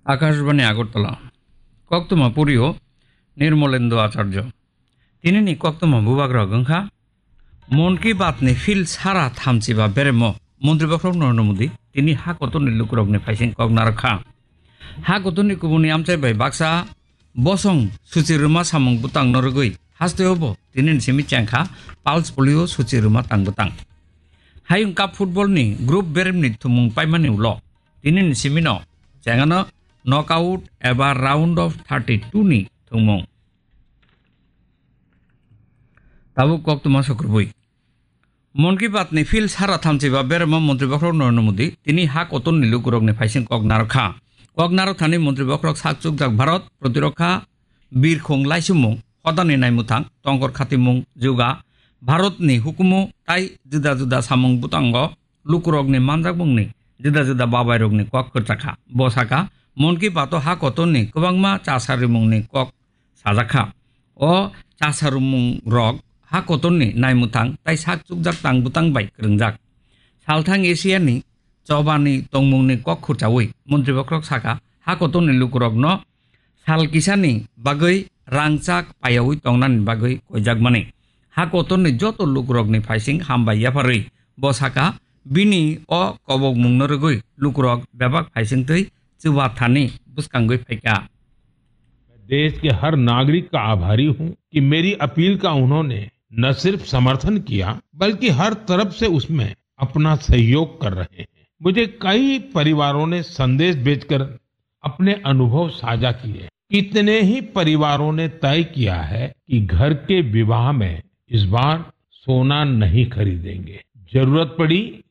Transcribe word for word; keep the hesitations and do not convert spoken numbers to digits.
Akashbani Agartala. Koktwma purio Nirmolendu Acharya. Tinini koktwma bubagrok wngkha, Mon Ki Baat ni field sara thamchiba beremo Montri Bokhorok Narendra Modi tini ha kotorni lukurokni phaising kok narwkha. Ha kotorni kubuni amchai bai baksa bosong suchi rwma samung bwtangno rwgwi hasteo bo tinini simi chengkha pulse polio suchi rwma tang bwtang. Hayung Cup football ni group beremni thumung paimani ulo tinini simino chengano knockout eba round of thirty-two ni thwngmung. Tabuk koktwma sukrubui. Mon Ki Baat ni field sara thamchiba beremo Montri Bokhorok Narendra Modi tini ha kotorni lukurokni phaising kok narwkha. Kok narwkthani Montri Bokhorok sak chukjak Bharat, Protirokha, Birkhung laisumung, hodani naimwthang, tongkor khatimung, juga, Bharatni hukumu tai juda juda samung bwtango lukurokni manjakmungni juda juda babairokni kok kwchakha. Bo sakha, Mon Ki Baat o ha kotorni kwbangma chasarimungni kok sajakha. O chasarimung rok ha kotorni naimwthang tai sak chukjak tang bwtang bai kwrwngjak. Salthang Asia ni chobani tongmungni kok khurchaui Montri Bokhorok sakha, ha kotorni lukurokno sal kisani bagwi rangchak payaui tongnani bagwi koijakmani. Ha kotorni joto lukurokni phaising hambai yapharwi bo sakha, bini o kobokmungno rwgwi lukurok bebak phaisingtwi chuba thani bwskangwi phaikha. मैं देश के हर नागरिक का आभारी हूं कि मेरी अपील का उन्होंने न सिर्फ समर्थन किया, बल्कि हर तरफ से उसमें अपना सहयोग कर रहे हैं। मुझे कई परिवारों ने संदेश भेजकर अपने अनुभव साझा किए। कितने ही परिवारों ने तय किया है कि घर के विवाह में इस बार सोना नहीं खरीदेंगे। जरूरत पड़ी